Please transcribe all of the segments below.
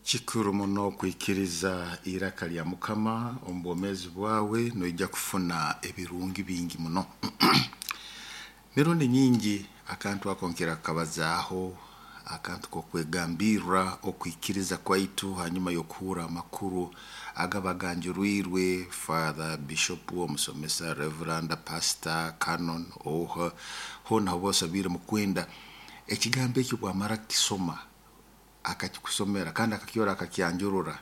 Kikuru muno kwikiriza iraka lya Mukama omu bwomeezi bwawe, noija kufuna ebirungi bingi muno. Mirundi nyingi akantu ako nkira kukabazaaho, akantu k'okwegambirra okwikiriza kwaitu hanyuma y'okuhurra amakuru agaba ganjurwirwe Father, Bishop, omusomesa, Reverend, Pastor, Canon, oha, hoona hoba osabiire mukwenda. Ekigambo eki obwamara kukisoma, akakikusomera kandi akakyora akakyanjurura,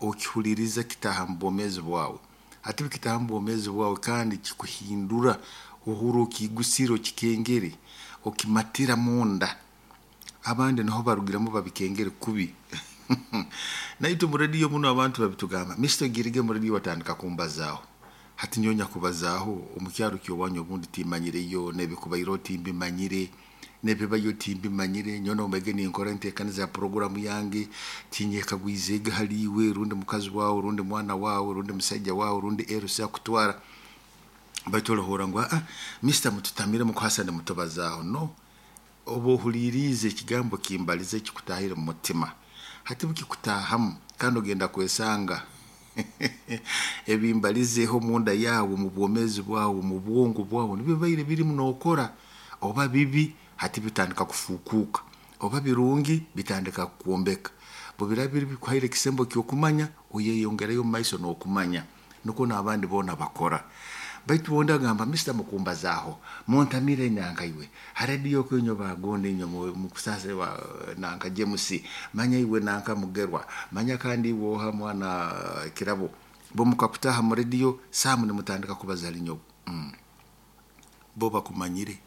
okihuliriza kitaaha mu bwomeezi bwawe. Hati obu kitaaha mu bwomeezi bwawe kandi kikuhindura, ohurra okiigusire okikengere, okimatira munda. Abandi nuho barugiremu babikengere kubi. Naitwe mu rediyo muno abantu babitugamba, Mister ogirege mu rediyo batandika kumbazaaho. Hati nyowe nyakubazaaho omu kyaro ky'owanyu obundi timmanyireyo, n'ebikubaireho timbimanyire, n'ebibayo timbimanyire, nyowe nombaire ninkora enteekaniza ya puroguraamu yange, tinyekagwizeege hali iwe rundi mukazi waawe rundi mwana waawe rundi musaija waawe rundi LC akutwara. Baitu orahurra ngu Mister mututamire mukuhasa nimutubazaaho. No, oba ohuliiriize ekigambo kimbalize kikutaahire mu mutima. Hati bukikutaahamu kandi ogenda kwesanga ebimbalizeeho munda yaawe, omu bwomeezi bwawe, omu bwongo bwawe nibyo bibaire birimu nookora. Oba bibi, hati bitandika kufuukuuka, oba birungi, bitandika kukwombeka. Obu biraaba biri bikuhaire ekisembo ky'okumanya, oyeyongerayo omumaiso n'okumanya. Nukwo n'abandi boona bakora. Baitu ondi agamba Mister mukumbazaaho, muntamire nanka iwe, ha rediyo oku inywe bagundi inywe mukusasa nanka James, manya iwe nanka Mugerwa, manya kandi iwe oha mwana Kirabo. Bo mukakutaaha mu rediyo, saaha nimutandika kubaza hali nyowe. Bo bakumanyire.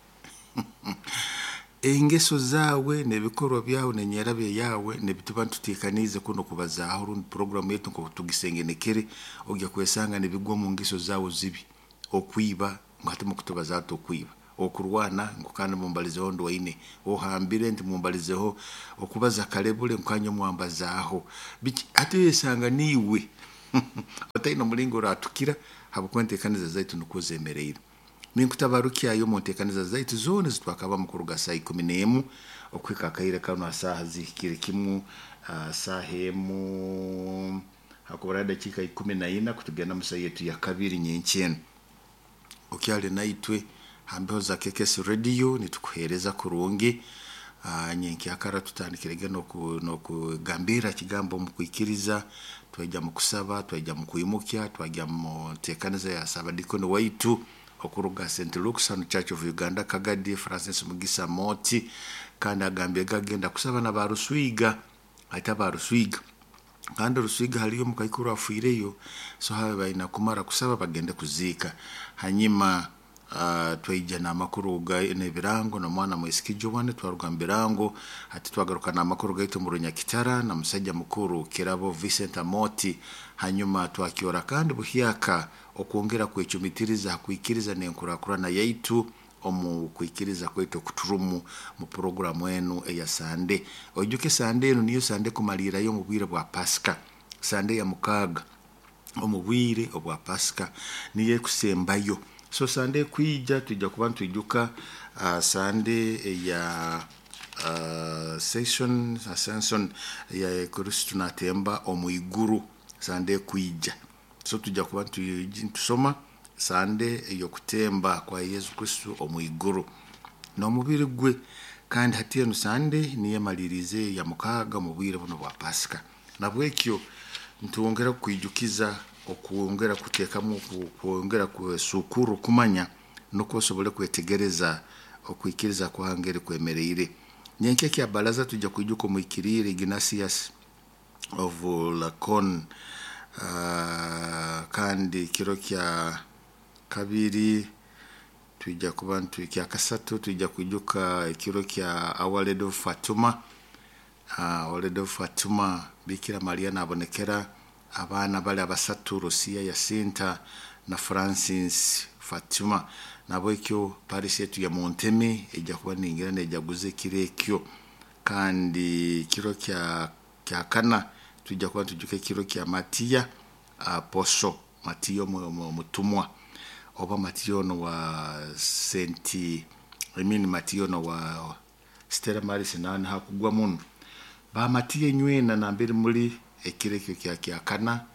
Engeso zaawe n'ebikorwa byawe n'enyerabya yaawe nibituba nituteekaniize kunu kubazaaho rundi puroguraamu yaitu nkooku tugisengenekere, ojya kwesanga nibigwa omu ngeso zaawe zibi. Okwiba, ngu hati mukutubazaaho tukwiba, okurwana ngu kandi mumbalizeho ndwaine, ohambire nti mumbalizeho, okubaza kalebule ngu kandi nyowe mwambazaaho. Biki hati oyesanga niiwe otaine omulingo oratukira habwokuba enteekaniza zaitu nukwo zemeriire. Ninkutabarukyayo omu nteekaniza zaitu zoona ezitwakabamu kuruga saaha ikumi n'emu okuhika akaire kanu ha saaha zihikire kimu, saaha emu hakuburaho edakiika ikumi na ina kutugenda mu saaha yaitu ya kabiri nyenkya enu. Okyali naitwe ha mbeho za KKS Radio nitukuheereza kurungi. Nyenkyakara tutandikirege n'okugambirra kigambo omu kwikiriza, twaija mu kusaba, twaija mu kwimukya, twaija mu nteekaniza ya Saabadiikoni waitu okuruga St. Luke's hanu Church of Uganda Kagadi, Francis Mugisa Mooti, kandi agambire agenda kusaba na ba Ruswiga, hati aba Ruswiga. Kandi Ruswiga haliyo omukaikuru afiireyo, so habe baina kumara kusaba bagende kuziika. Hanyuma twaija n'amakuru n'ebirango n'omwana mwisiki Joan, twaruga mu birango, hati twagaruka n'amakuru gaitu omu Runyakitara na musaija mukuru Kirabo Vincent Amooti. Hanyuma twakyora kandi buhyaka okwongera kwecumitiriza ha kwikiriza n'enkurakurana yaitu omu kwikiriza kwaitu okuturumu mu puroguraamu enu eya Sande. Oijuke Sande enu niyo Sande ekumaliirayo omu bwire bwa Pasika, Sande ya mukaaga omu bwire obwa Pasika niyo ekusembayo. So Sande ekwija twija kuba nitwijuka Sande eya Ascension ya Kristo naatemba omu iguru, Sande ekwija. So twija kuba nitusoma Sande ey'okutemba kwa Yesu Kristo omu iguru n'omubiri gwe. Kandi hati enu Sande niyo emaliriize ya mukaaga omu bwire bunu obwa Pasika. Nahabwekyo nitwongera kukwijukiza okwongera kuteekamu kwongera kwesuukurra okumanya nukwo osobole kwetegereza okwikiriza kwange kwemeriire. Nyenkya kya baraza twija kwijuka omuhikiriire Ignatius of Lacon, kandi kiro kya kabiri twija kuba kya kasatu twija kwijuka ekiro kya Our Lady of Fatima. Our Lady of Fatima, Bikira Maria naabonekera abaana bali abasatu Lucia, Yasinta na Francis Fatima. Nahabwekyo parish yaitu ya Muntemi ejja kuba ningira neejaguza ekiro ekyo. Kandi ekiro kya kana twija kuba nitwijuka ekiro kya Matiya Apostle, Matiya omutumwa oba Matiya onu wa St. I mean Matiya onu wa Stella Maris nawe niho akugwa muno. Bamatiya enywena nambere muli ekiro ekyo kya kyakana.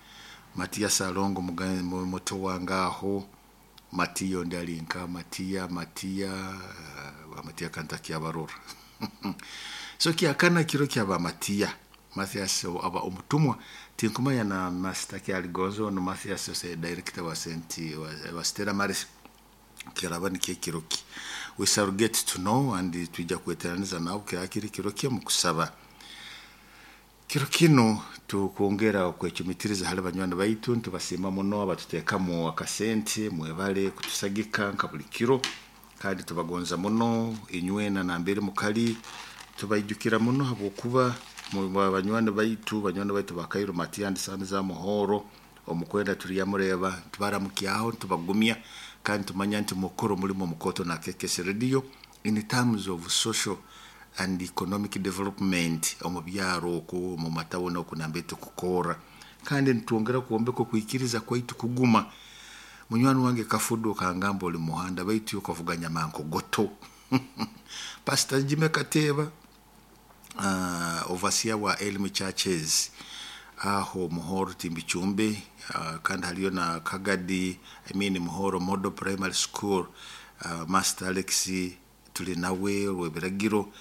Matiya Salongo muto wange aho, Matiya ondi ali nka Matiya Matiya kantakyabarora. So kyakana kiro kya Bamatiya, Mathias aba omutumwa tinkumanya na Master Kyaligonzo no Mathias ose director wa senti wa Stella Maris kiraba nikyo ekiro ki. We shall get to know and twijja kweteraniza nawe kirakiri kiro kye mu kusaba. Kiro kino tukwongera okwecumitiriza hali banywani baitu, ntubasiima muno abatuteekamu akasente, mwebale kutusagika nka buli kiro, kandi tubagonza muno inywena nambere mukali, tubaijukira muno habwokuba banywani baitu, banywani baitu ba Cairo Matiya and Sons za Muhoro, omukwenda turyamureba, tubaramukyaho, tubagumya, kandi tumanya nti mukuru mulimo mukoto na KKS Radio in terms of social and economic development omu byaro oku, omu matawuni oku nambere tukukora, kandi nitwongera kwombeka okwikiriza kwaitu kuguma. Munywani wange Kafudu kangamba oli muhanda baitu okavuga nyamankogoto. Pastor Jimmy Kateba, overseer wa Elm Churches aho Muhoro Timbichumbe, kandi haliyo na Kagadi, I mean Muhoro Model Primary School, Master Alex tuli nawe rwebiragiro,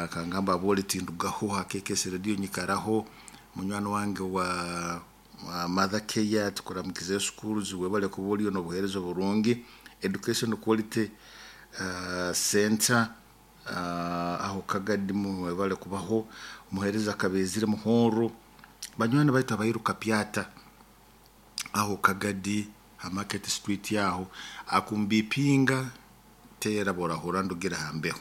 kangamba abole tindugaho ha KKS Radio nyikaraho. Munywani wange wa Mother Care tukuramukize schools webale kuba oliyo n'obuheereza oburungi, education quality center, aho Kagadi webale kubaho, omuheereza Kabezire Muhoro, banywani baitu abairuka Pyata aho Kagadi ha Market Street aho akumbipinga tera borahura ndugira hambeho,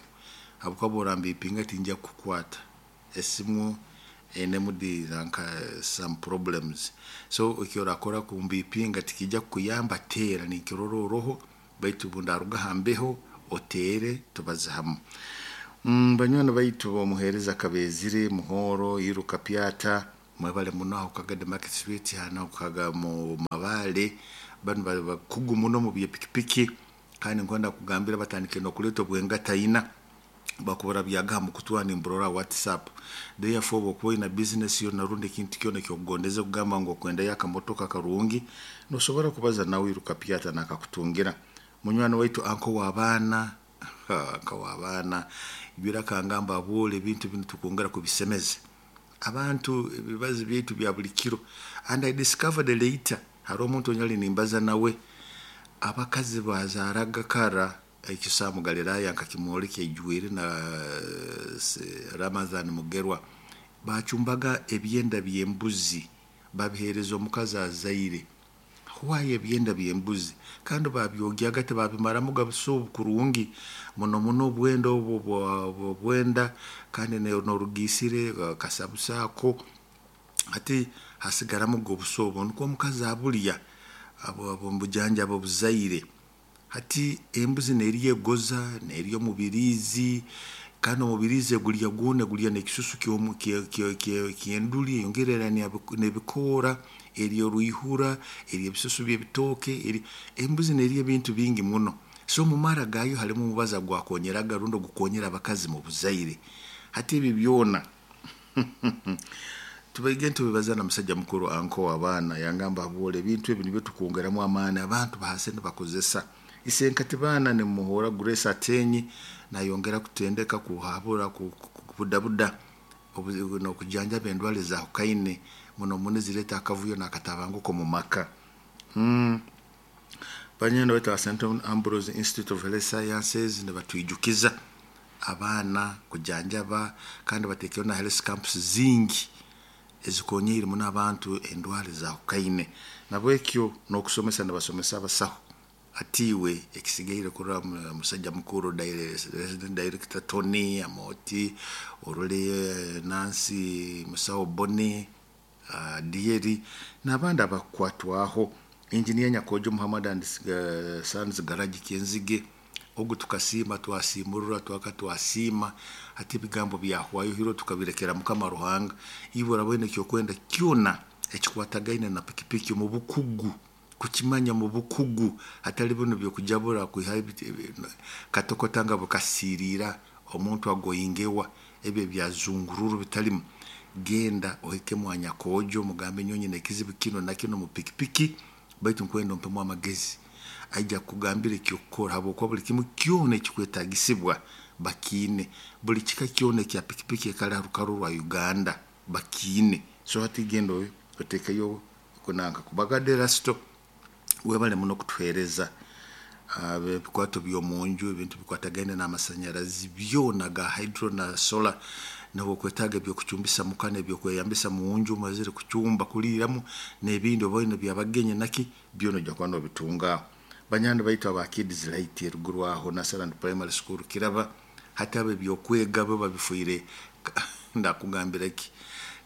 habwokuba borambipinga tinja kukwata esimu ene nka some problems. So ekyorakora kumbipinga tikijja kukuyamba, tera ninkirora oroho baitu bundaruga hambeho otere tubaze hamu. Banywani baitu omuheereza Kabezire Muhoro Iruka Pyata mwebale muno aho Kagadi Market Street hano kaga mu Mabale, banu bakugu muno mu byepikipiki, kandi nkwenda kugambira batandike nokuleta obwengataina bakubura byaga mu kutwa nimburora WhatsApp. Therefore bokuba ina business yo narundi ekintu kyona kyokugondeza kugamba ngu okwenda yakamotoka karungi, nosobora kubaza nawe Iruka Pyata nakakutungira. Munywani waitu anko w'abaana, anko w'abaana ibira kangamba abole ebintu binu tukongera kubisemeza abantu ebibazo byaitu bya buli kiro. And I discovered later hari omuntu onyali nimbaza nawe abakazi bazaraga kara ekyo mu Galilaya nkakimwoleka ejwire na Ramadhan Mugerwa, bacumbaga ebyenda by'embuzi babihereza omukazi azaire. Why ebyenda by'embuzi? Kandi babyogyaga tebabimaramu gabuso kurungi muno muno obwenda obwo bwenda, kandi norugisire kasabusaako ati hasigaramu gobuso obwo nukwo omukazi abulya abo obujanjaba obuzaire. Hati embuzi neriyo egoza neriyo omubirizi, kandi omubirizi egulya gwona gulya n'ekisusu ky'enduli eyongerera n'ebikoora, eriyo oruihura, eriyo ebisusu by'ebitooke, embuzi neriyo ebintu bingi muno. So omu mara gayo harimu omubazi gwakonyeraga rundi ogukonyera abakazi mu buzaire. Hati ebi byona tubaige tubibaza na musajja mukuru anko w'abaana yangamba abole ebintu ebi nibyo tukongeramu amaani abantu bahase nibakozesa. Isenkati baana nimuhora Grace Atenyi nayongera kutendeka kuhabura kubudabuda nokujanjaba endwara ezahukaine muno muno ezireta akavuyo n'akatabanguko mu maka. Banywani baitu aba St. Ambrose Institute of Health Sciences nibatwijukiza abaana kujanjaba, kandi batekeho na health camps zingi ezikonyeire muno abantu endwara ezahukaine. Nabwekyo n'okusomesa nibasomesa abasaho atiwe ekisigaire kurora musajja mukuru resident director Tony Amoti, orole Nancy Musawo Boni, Dieri n'abandi abakwatwaho, engineer Nyakojo Muhammad and Sons Garage Kyenzige, ogu tukasiima twasimurura twaka twasiima hati ebigambo byahwayo hiro tukabirekera Mukama Ruhanga. Iwe orabona ekyokwenda kyona ekikwatagaine na pikipiki omu bukugu, kukimanya mu bukugu hatali bino byokujabura kwiha katokota nga bukasirira omuntu agoyingewa. Ebyo byazungururu bitalimu. Genda ohike mwanya kojo mugambe nyonyi nekizibu kino na kino mu pikipiki, baitu nkwenda ompemu amagezi. Aija kugambira ekyokukora habwokuba buli kimu kyona ekikwetagisibwa bakiine. Buli kika kyona ekya pikipiki ekali ha rukaru rwa Uganda bakiine. So hati genda otekeyo kunanka kubaga Erasto webale muno kutuheereza ebikwato by'omunju, ebintu bikwatagaine n'amasanyarazi byona ga hydro na solar, nobwokwetaaga ebyokucumbisa muka n'ebyokweyambisa munju omazire kucumba kuliiramu n'ebindi oba oine byabagenyi naki byona ojja kuba nobitunga. Banywani baitu aba Kids Light eruguru aho Nasaland Primary School Kiraba, hati abo ebyokwega bo babifuire ndakugambira ki,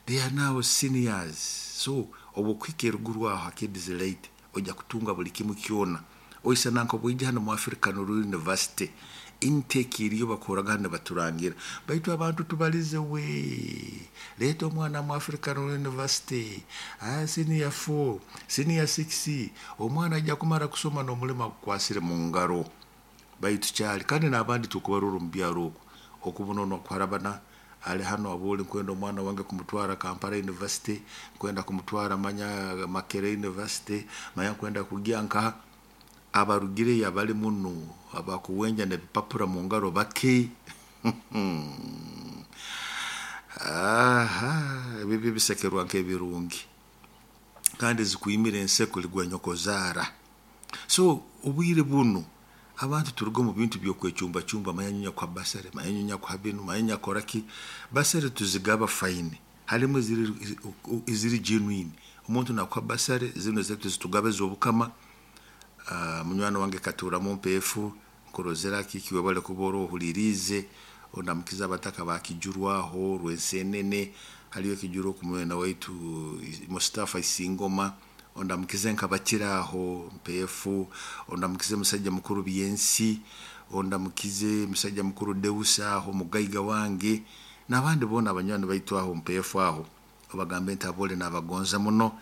they are now seniors. So obwokuhika eruguru aho ha Kids Light ojja kutunga buli kimu kyona. Oisana nk'obwija hano mu African Rural University, intake eriyo bakoraga hano baturangira, baitu abantu tubalize we leeta omwana mu African Rural University, senior 4, senior 6, omwana ajja kumara kusoma n'omulimo agukwasire mu ngaro. Baitu kyali kandi n'abandi tukubarora omu byaro okwo okubona ono kuharabana ali hano aboli nkwenda omwana wange kumutwara Kampala University, nkwenda kumutwara manya Makerere University, manya nkwenda kugya nkaha. Abarugireyo abali muno abakuwenja n'ebipapura mu ngaro bake. Aha, ebibi bisekerwa nk'ebirungi kandi zikwimira enseko ligwa nyokozaara. So obwire bunu abantu turuga omu bintu by'okwecumbacumba, manya nyonya kuha basare, manya nyonya kuha binu, manya nyonya kora ki. Basare tuzigaba fine, harimu eziri genuine. Omuntu nakuha basare zinu ezaitu zitugaba ez'obukama. Munywani wange katuuramu mpeefu nkurozera kiki webale kuba orohuliriize ondamukiza abataka bakijurwaho rwensenene, haliyo ekijuru oku mwena waitu Mustafa Isingoma, ondamukize nkabakiraho mpeefu, ondamukize musajja mukuru Byensi, ondamukize musajja mukuru Deus aho mugaiga wange n'abandi boona abanywani baitu aho mpeefu aho, obagambe nti abole nabagonza muno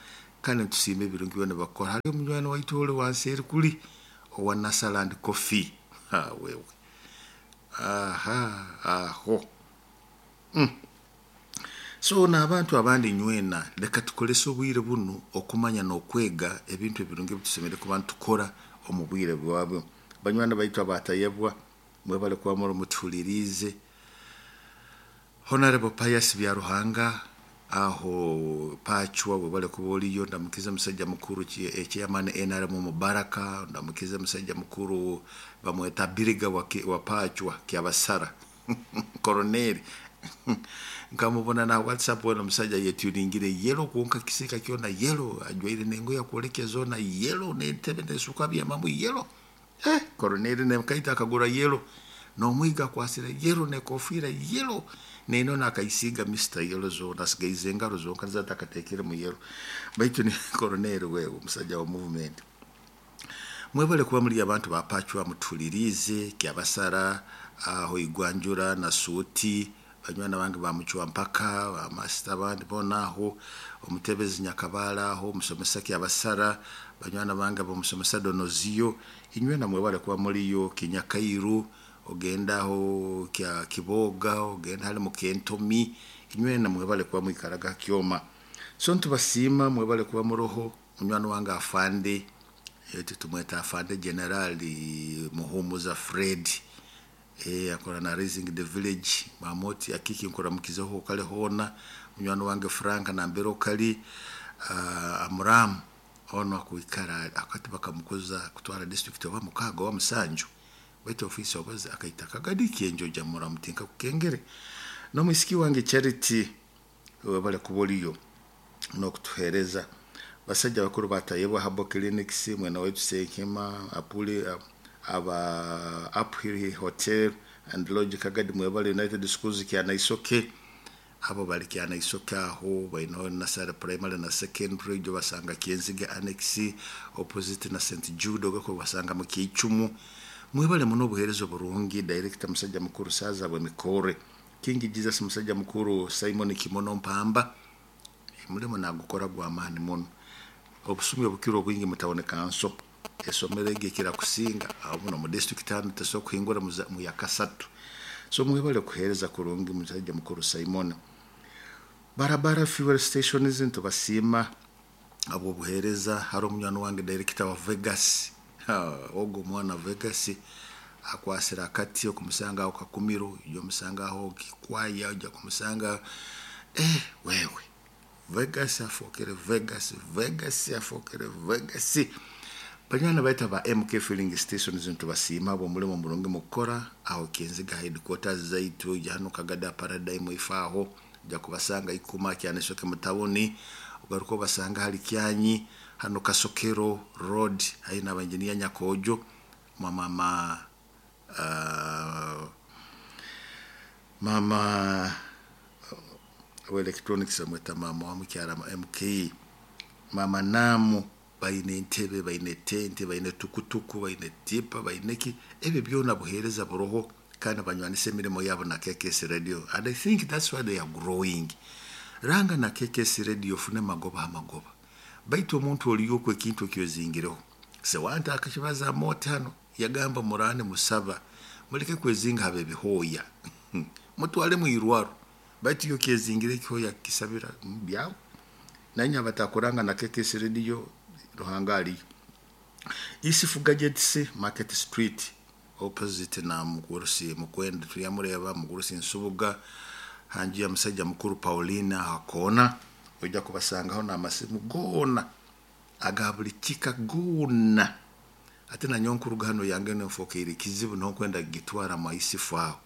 kandi nitusiima ebirungi byona bakukora. Haliyo omunywani waitu ole wansi eri kuli owa Nasaland Coffee, ha wewe aha aho. So n'abantu abandi nywena leka tukolese obwire bunu okumanya n'okwega ebintu ebirungi ebitusemeriire kuba nitukora omu bwire bwabwo. Banywani baitu abatayebwa mwebale kuba muri mutuhuliriize. Honorable Pius Byaruhanga aho Pachwa webale kuba oliyo, ndamukiza musajja mukuru chairman NRM Mubaraka, ndamukiza musajja mukuru bamweta Biriga wa Pachwa Kyabasara Koroneli nkamubona na WhatsApp wena musajja yetuningire yellow kwonka kisika kyona yellow, ajwaire nengoye akwolekya zona yellow n'entebe n'esuka byamamu yellow. Koroneli nekaita akagura yellow n'omwiga akwasire yellow n'ekofiira yellow neno nakaisiga Mr. Yellow zona asigaize engaro zonka zatakatekere mu yellow. Baitu ni koroneli wewe omusajja wa movement. Mwebale kuba muri abantu ba Pachwa mutulirize Kyabasara aho Igwanjura na Suti, banywana bange bamucwa mpaka bamasita abandi bona aho omutebezi Nyakabala aho omusomesa Kyabasara, banywana bange bamusomesa Donoziyo, inywe na mwebale kuba muriyo Kinyakairu, ogenda aho kya Kiboga, ogenda hali mu Kentomi, inywe na mwebale kuba mwikaraga Kyoma. So ntubasiima mwebale kuba muroho. Munywani wange afande tumweta afande Generali Muhumuza Fred, akora na Raising the Village mamoti akiki nkuramukizeho kale hona. Munywani wange Frank nambero kali Amram ono akuikara akati bakamukoza kutwara district oba mukaga wa musanju, baitu ofisi obaza akaita kagadi kienjo jamura mutinka kukengere. No mwisiki wange Charity webale kuboliyo no kutuhereza. Basajja bakuru batayebwa Habo Clinics, mwena wetu Senkema apule aba Uphill Hotel and Lodge Kagadi, mwebale United Schools Kyanaisoke, abo bali Kyanaisoke aho baino Nasara Primary na Secondary jo basanga Kienzige Annex opposite na St Jude ogako basanga mu Kichumu. Mwebale muno obuheereza burungi. Director musajja mukuru Saza bwe Mikore, King Jesus musajja mukuru Simon Kimono Mpamba, mulimo nagukora gwa maani muno. Obusumi obukiro obwingi mutaboneka nso esomero egi ekira kusinga aho muno mu district hano tesobola kuhingura mu yakasatu. So mwebale kuheereza kurungi musajja mukuru Simon. Barabara fuel stations ntubasiima abw'obuheereza. Hari omunywani wange director wa Vegas, ogwo omwana Vegas akwasire akati okumusanga aho Kakumiro, ojja omusanga aho Kikwaya, ojja kumusanga wewe Vegas afookere Vegas, Vegas afookere Vegas. Banywani baitu ba MK filling stations ntubasiima abw'omulimo murungi mukukora aho Kinziga headquarters zaitu, ojja hano Kagada Paradigm ifaaho, ojja kubasanga Ikuma Kyanesoke mutawuni, ogaruka obasanga hali Kyanyi hano Kasokero Road haihi na engineer Nyakojo mama mama wa electronics amweta mama wa mukyara MK mama Namu. Baine entebe, baine tente, baine tukutuku, baine tipa, baine ki, ebyo byona buheereza buroho kandi banywanisa emirimo yabo na KKS Radio, and I think that's why they are growing. Ranga na KKS Radio ofune magoba ha magoba, baitu omuntu oliyo ekintu ekyozingireho sewanta akakibaza mote hano yagamba murane musaba muleke kwezinga habe bihoya mutwale mu irwaro, baitu yo kyezingire ekihoya kisabira byawe. Nanye abatakuranga na KKS Radio Ruhanga aliyo. Isifu Gadgets Market Street opposite na Mugurusi Mukwenda tuyamureba Mugurusi Nsubuga hanji ya musajja mukuru Paulina hakona, ojja kubasangaho n'amasimu goona aga buli kika goona. Ate na nyonkuru hano yange nenfokeire kizibu n'okwenda gitwara mu Isifu aho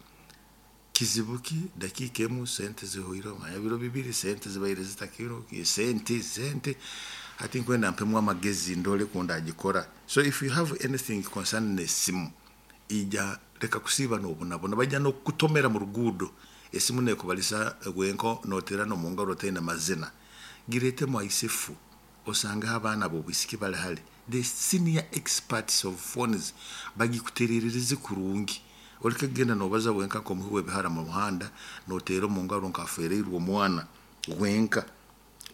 kizibu ki dakika emu sente zihoire biro bibiri sente zibaire zitakiro sente sente ati nkwenda mpemu amagezi ndole kunda agikora. So if you have anything concerning esimu ija reka kusiba n'obunabona bajja n'okutomera mu ruguudo esimu nekubalisa gwenko notera no mungaro otaine mazina girete mu Isifu osanga abaana b'obwisiki bali hali the senior experts of phones bagikuterereze kurungi. Oleke kugenda nobaza wenka nk'omuhi w'ebihara mu muhanda notera omu ngaro nkafereirwe omwana wenka.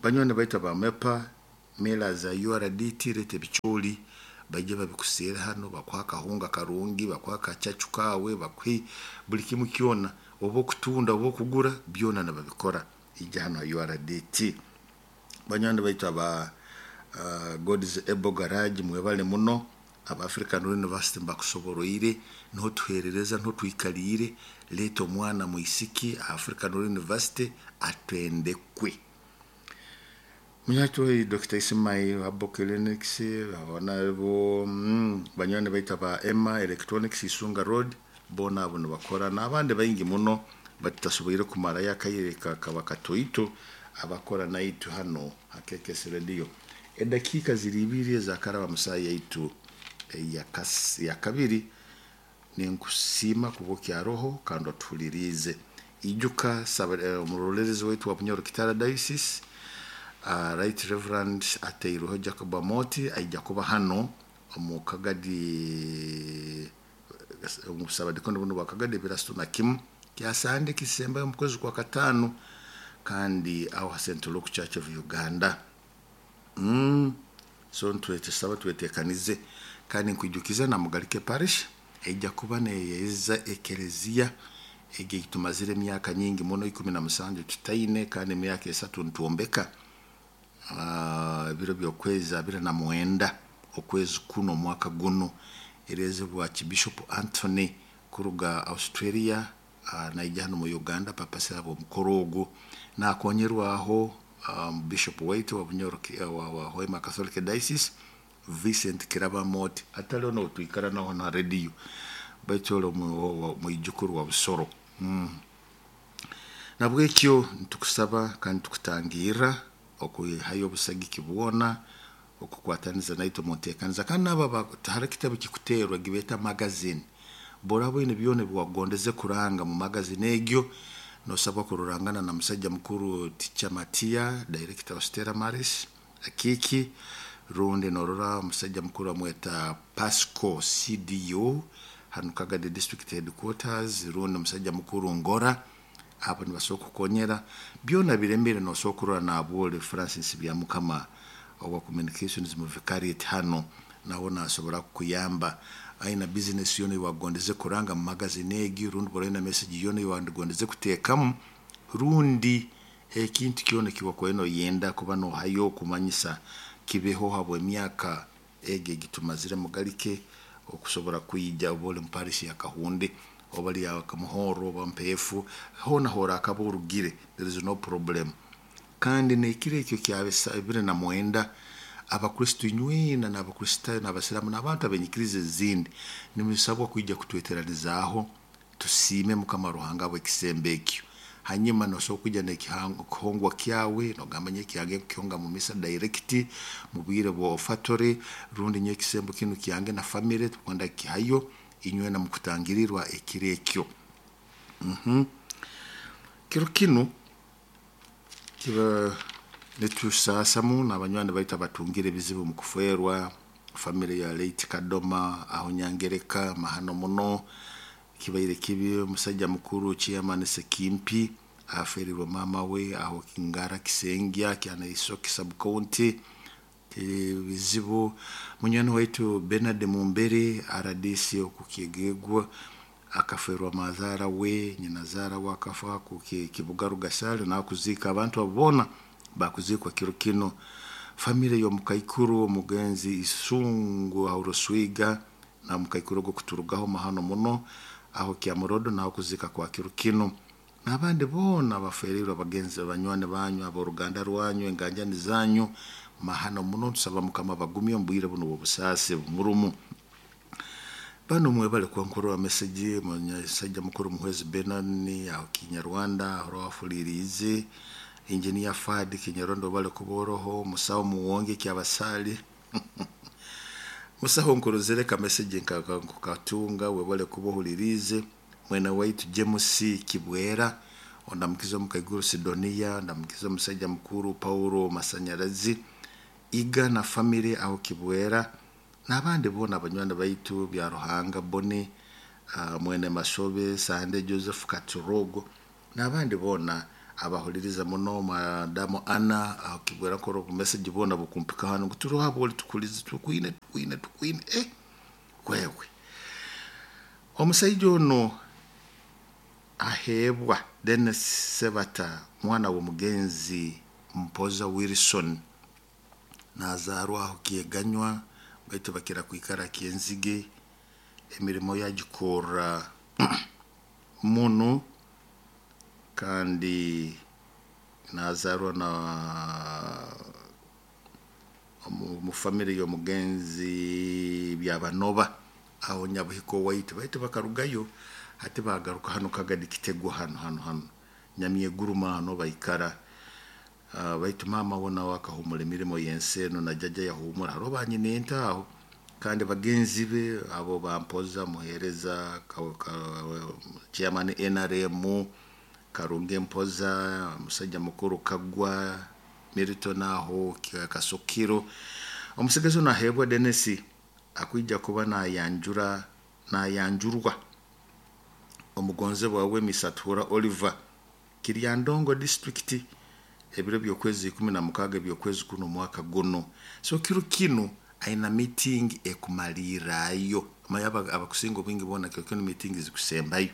Banywani baitu ba MEPA mela za URDT rete bicholi bajje babikuseera hano bakuha akahunga karungi, bakuha akacacu kawe, bakuhe buli kimu kyona, oba okutunda oba okugura byona nababikora ijja hano ha URDT. Banywani baitu aba God's Able Garage mwebale muno, aba African University mbakusoboroire niho tuherereza niho twikaliire. Leeta omwana mwisiki African University atwendekwe. Munyatwe Dr. Ismail Abo Clinics abana bo banywani baitu aba Emma Electronics Isunga Road bona abo nibakora n'abandi baingi muno batutasoboire kumarayo akaire kaba katoito abakora naitu hano ha KKS Radio. Edakiika ziri ibiri ezakaraba musaha yaitu ya kabiri. Ninkusiima kuba okyaroho kandi otuhuliriize. Ijuka omurolerezi waitu wa Bunyoro Kitara Diocese Right Reverend Ateiruho Jacob Amoti aija kuba hano omu Kagadi omusabadikondo buno bwa Kagadi ebirasatu na kimu kyasande kisembayo omu kwezi kwa katano kandi aho ha St. Luke Church of Uganda. So ntwetesaba twetekanize kandi nkwijukiza na Mugalike Parish ejja kuba neyeza ekereziya egi tumazire emyaka nyingi muno 17 tutaine kandi emyaka 3 ntuombeka ebiro by'okwezi 29 okwezi kuno omwaka guno erezebwa Archbishop Anthony kuruga Australia naija hano mu Uganda papa sabo omukoro ogwo nakonyerwaho Bishop White wa Bunyoro wa Hoima Catholic Diocese Vincent Kirabamoti ataliho notwikara naho na radio baitu ole mwijukuru wa Busoro. Nabwekyo ntukusaba kandi tukutangira okuhayo obusagiki bwona okukwataniza naitwe mu nteekaniza kandi nabo hari ekitabo kikuteerwa gibeeta magazine boraba oine byona ebiwagondeze kuranga mu magazine egyo nosabwa kurorangana na musajja mukuru Ticha Matia director wa Stella Maris Akiki rundi norora omusajja mukuru amweta Pasco CDO hanu Kagadi district headquarters rundi omusajja mukuru Ngora abo nibasobola kukonyera byona biremere nosobola kurora nabwole Francis Byamukama owa communications mu vicariate hano nawe nasobora kukuyamba. Aina bizinesi yoona eiwakugondeze kuranga mu magazine egi, rundi bw'oraaba oine message yoona eiwakugondeze kuteekamu, rundi ekintu kyona eki wakubaire noyenda kuba noohayo kumanyisa kibeho habw'emyaka egi egitumazire Mugalike okusobora kwija oba oli mu parish ya Kahunde oba oli ya Kamuhorro oba Mpeefu, hoona horakaba orugire, there is no problem. Kandi n'ekiro ekyo kya 29, Abakristo inywena n'Abakristaayo n'Abasiraamu n'abantu ab'enyikiriza ezindi nimusabwa kwija kutweteranizaaho tusiime Mukama Ruhanga habw'ekisembo ekyo. Hanyuma nosobora kwija n'ekihongwa kyawe nogamba nyowe kyange nkukihonga mu misa direct mu bwire bwa offertory, rundi nyowe ekisembo kinu kyange na family tukwenda kukihayo inywena mukutangirirwa ekiro ekyo. Kiro kinu kiba nitusaasamu n'abanywani baitu abatungire ebizibu mu kufeerwa family ya late Kadoma aho Nyangereka mahano muno kibaire kibi omusaija mukuru chairman Sekimpi aferirwe maama we aho Ngara Kisengya Kyanaisoke sub county ebizibu. Munywani waitu Bernard Mumbere RDC okukyegegwa akaferwa mazaara we, nyinazaara we akafa ku Kibuga Rugasale nakuziika abantu abo boona bakuziikwa kiro kinu. Family y'omukaikuru omugenzi Isungu aho Ruswiga na mukaikuru ogwo kuturugaho mahano muno aho Kyamurodo naho kuziika kwa kiro kinu. N'abandi boona abaferirwe abagenzi abanywani banyu, ab'oruganda rwanyu, enganjani zanyu, mahano muno tusaba Mukama abagumye omu bwire bunu obw'obusaasi bumurumu. Banu mwebale kwankurura message munyasaija mukuru Muhwezi Benon aho Kinyarwanda aho wafuliriize, Engineer Fad Kinyarwanda obale kuba oroho, Musawo Muwonge Kyabasaali musaho nkurozere ka message nkatunga webale kuba ohuliriize. Mwene waitu James Kibwera, ondamukiza omukaiguru Sidonia, ondamukiza omusaija mukuru Paulo Masanyarazi, Iga na family aho Kibwera, n'abandi boona abanywani baitu bya Ruhanga Boni, mwene Masobe, Sande Joseph Katurogo, n'abandi boona abahuliriza muno, Madamu Anna aho Kibwera nkora obu message bwona bukumpika hanu ngu turi abo tukulize tukwine tukwine tukwine wewe. Omusaija ono aheebwa Dennis Sebata mwana w'omugenzi Mpoza Wilson nazaarwa aho Kyeganywa baitu bakira kwikara Kyenzige, emirimo yagikorra muno kandi nazaarwa na mu family y'omugenzi Byabanoba aho Nyabuhiko waitu, baitu bakarugayo hati bagaruka hanu Kagadi Kitegwa hanu hanu hanu Nyamyeguruma hano baikara. Baitu maama we nawe akahumura emirimo y'ensi eno na jjajja yahumura hariho banyina ente aho kandi bagenzi be abo bampoza muheereza chairman NRM Karungi Mpoza, omusajja mukuru Kagwa Milton aho Kasokiro. Omusigazi ono aheebwa Dennis akwija kuba nayanjura nayanjurwa omugonzebwa we Misatura Oliver Kiryandongo district ebiro by'okwezi 16 eby'okwezi kuno omwaka guno. So kiro kinu aina meeting ekumalirrayo manya abakusinga obwingi boona kiro kinu meeting zikusembayo.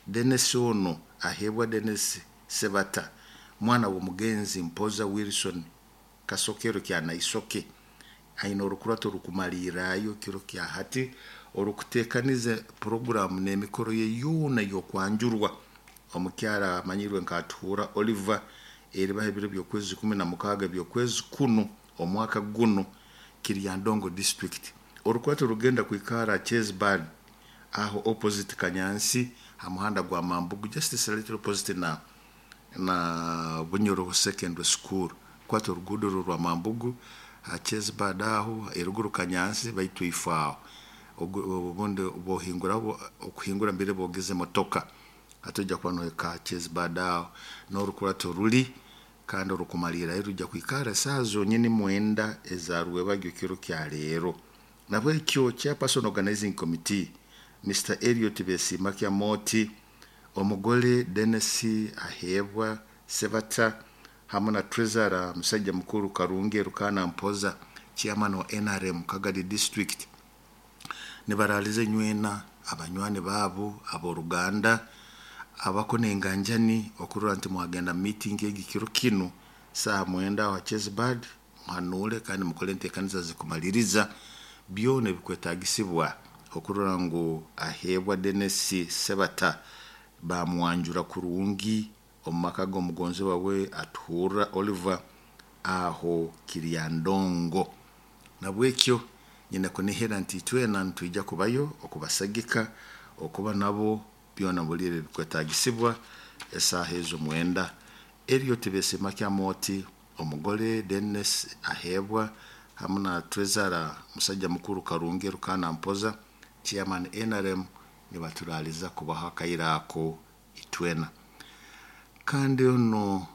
Dennis ono aheebwa Dennis Sebata mwana w'omugenzi Mpoza Wilson Kasokero Kyanaisoke aina orukurato rukumalirrayo kiro kya hati orukuteekaniza program n'emikoro ye yoona y'okwanjurwa omukyara amanyirwe nka Atuhura Oliver eribaho ebiro by'okwezi 16 eby'okwezi kuno omwaka guno Kiryandongo district. Orukurato rugenda kwikara Chesbad aho opposite Kanyansi ha muhanda gwa Mambugu just slightly opposite na Bunyoro Secondary School kwata oruguudo rwa Mambugu ha Chesbad aho eruguru Kanyansi baitu ifo aho obundi bohingura okuhingura mbere bogeze motoka atoja kuba nohika Chesbad aho n'orukurato ruli kandi orukumalirayo rujja kwikara esaaha zonyini 9 eza rwebagyo kiro kya leero. Nabwekyo chairperson organizing committee Mr. Elliot Besiima Kyamoti, omugole Dennis Aheebwa Sebata hamu na treasurer musajja mukuru Karungi Erukana Mpoza chairman wa NRM Kagadi district. Nibaraaliza nywena abanywani baabo ab'oruganda abako n'enganjani okurora nti mwagenda mu meeting egi kiro kinu saaha 9 aho ha Chesbard, muhanuule kandi mukole enteekaniza zikumaliriza byona ebikwetaagisibwa okurora ngu aheebwa Denis Sebata bamwanjura kurungi omu maka g'omugonzibwa we atuhurra Oliver aho Kiryandongo. Nabwekyo nyine kunihira nti itwena nitwija kubayo okubasagika okuba nabo byona buli ebyo ebikwetaagisibwa esaaha ezo 9. Eriyo Tibesiima Kyamoti omugole Denis aheebwa hamu na Treasurer musajja mukuru Karungi Rukana Mpoza chairman NRM nibaturaaliza kubaho akaire ako itwena. Kandi ono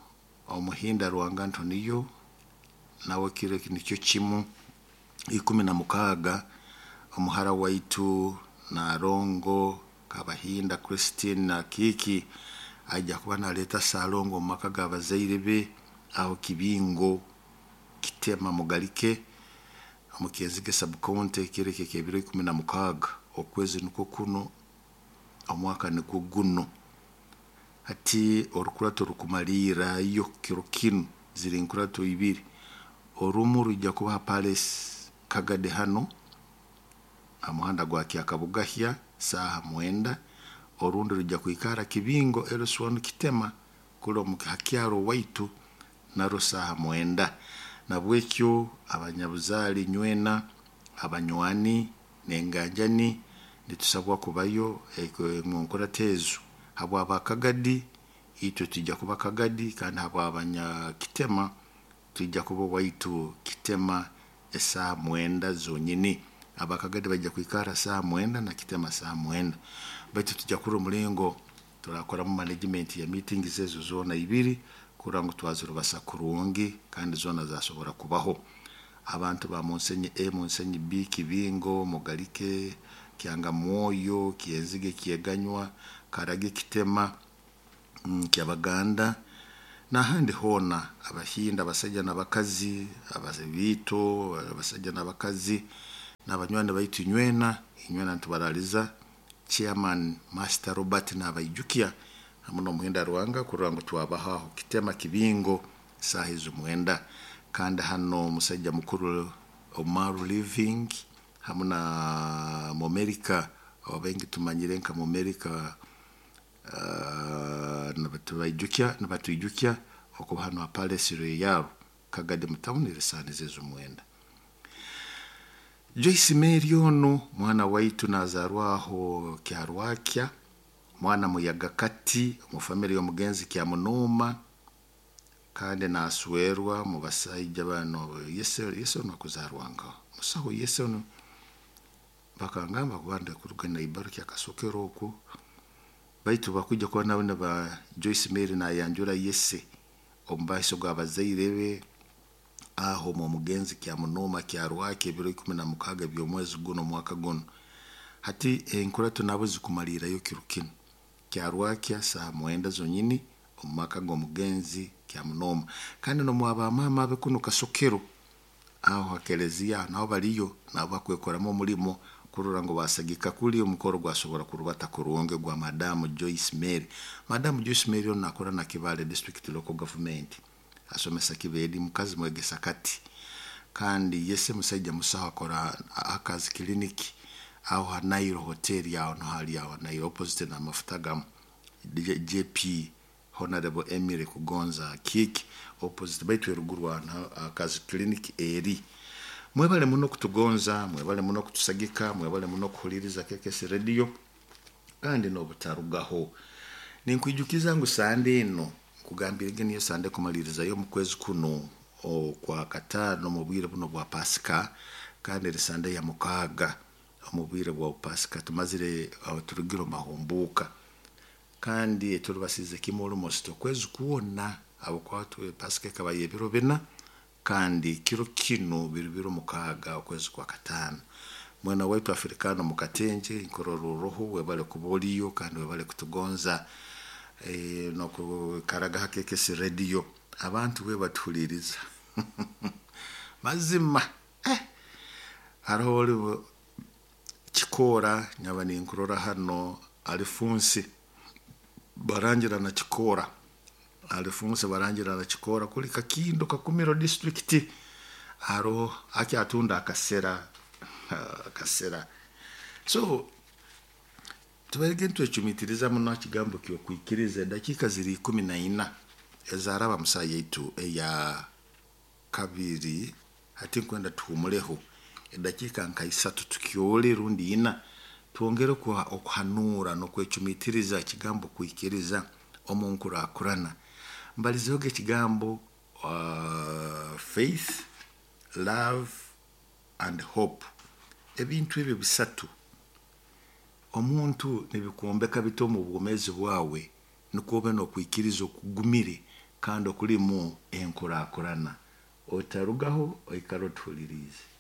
Omuhinda Rwanga Antoniyo nawe kiro nikyo kimu 16 omuhara waitu Narongo Kabahinda Christine na Kiki aija kuba naleeta Salongo omu maka g'abazaire be aho Kibingo Kitema Mugalike omu Kyenzige sub-county kiro ekyo eky'ebiro 16 okwezi nukwo kuno omwaka nugwo guno. Hati orukurato rukumaliirrayo kiro kinu ziri nkurato ibiri, orumu rwija kuba ha Palace Kagadi hanu ha muhanda gwa Kyakabugahya saaha 9, orundi rwija kwikara Kibingo LC1 Kitema kuli omu ha kyaro waitu narwo saaha 9. Nabwekyo abanyabuzaale nywena, abanywani n'enganjani nitusabwa kubayo omu nkurato ezo. Habw'abakagadi itwe twija kuba Kagadi, kandi habw'abanyakitema twija kuba owaitu Kitema esaaha 9 zonyini. Abakagadi baija kwikara saaha 9 na Kitema saaha 9. Baitu tujja kurora omulingo turakoramu management ya meetings ezo zoona ibiri kurora ngu twazirubasa kurungi kandi zoona zasobora kubaho. Abantu ba Munsenyi A, Munsenyi B, Kibingo, Mugalike, Kyangamwoyo, Kyenzige, Kyeganywa, Karage, Kitema, Kyabaganda n'ahandi hoona, Abahinda abasaija n'abakazi, ababiito abasaija n'abakazi n'abanywani baitu inywena, inywena nitubaraaliza. Chairman Master Robert nabaijukya hamu n'Omuhinda Rwanga kurora ngu twabaho aho Kitema Kibingo saaha ezo 9. Kandi hano omusaija mukuru Omaru Living hamu na Mumerika abaingi tumanyire nka Mumerika nibatwijukya okuba hano ha Palace Royal Kagadi mu town erisaaniza ezo 9. Joyce Mary ono mwana waitu nazaarwa aho Kyarwakya, mwana muyaga kati omu family y'omugenzi Kyamunuma, kandi naswerwa mu basaija bano yese yese ono akuzarwa nkaho musaho yese ono bakangamba kuba kuruga Naibaru Kyakasokero okwo, baitu bakwija kuba nabo niba Joyce Mary nayanjura yese omu maiso g'abazaire be aho omu mugenzi Kyamunuma Kyarwakya ebiro 16 by'omwezi guno omwaka guno. Hati enkurato nabo zikumalirrayo kiro kinu Kyarwakya saaha 9 zonyini omu maka g'omugenzi Kyamunuma. Kandi n'omwa maama abe kunu Kasokero aho ha kelezia naho baliyo nabo bakwekoramu omulimo kurora ngu basagika kuli omukoro gwasobora kurubata kurungi gwa Madamu Joyce Mary. Madamu Joyce Mary ono nakora na Kibaale District Local Government, asomesa Kibeedi, mukazi mwegesa kati, kandi yese musaija musaho akora akazi clinic aho ha Nile Hotel aho niho hali aho Nile opposite n'amafuta gamu JP Honorable Emily Kugonza Kiki opposite baitu eruguru aho akazi clinic eri. Mwebale muno kutugonza, mwebale muno kutusagika, mwebale muno kuhuliriza KKS Radio kandi n'obutarugaho. Ninkwijukiza ngu Sande eno nkugambirege niyo Sande kumalirizayo omu kwezi kuno okwa kataano omu bwire buno bwa Pasika, kandi eri Sande ya 6 omu bwire bwa Pasika tumazire turugire omu mahumbuuka, kandi turubasize kimu almost okwezi kwona habwokuba Pasika ekaba y'ebiro 4 kandi kiro kinu biri biro 6 okwezi kwa kataano. Mwena waitu Afrikano mu Katenje nkorora uruhu webale kuba oliyo kandi webale kutugonza n'okukaraga ha KKS Radio abantu we batuhuliriza mazima hariho oli Kikoora nyaba ninkurora hano Alifunsi barangira na Kikoora, Alifunsi barangira na Kikoora kuli Kakindo Kakumiro district, haroho akyatunda akasera akasera. So tubarege nitwecumitiriza muno ha kigambo ky'okwikiriza. Edakiika ziri 14 ezaraba musaha yaitu eya kabiri. Hati nkwenda tuhumuleho edakiika nka 3 tukyole rundi 4, twongere okuhanuura n'okwecumitiriza ekigambo kwikiriza omu nkurakurana. Mbalizehoga ekigambo faith, love and hope. Ebintu ebyo bisatu omuntu nibikwombeka bita omu bwomeezi bwawe, nukwo obe n'okwikiriza okugumire kandi okulimu enkurakurana. Otarugaho, oikale otuhuliriize.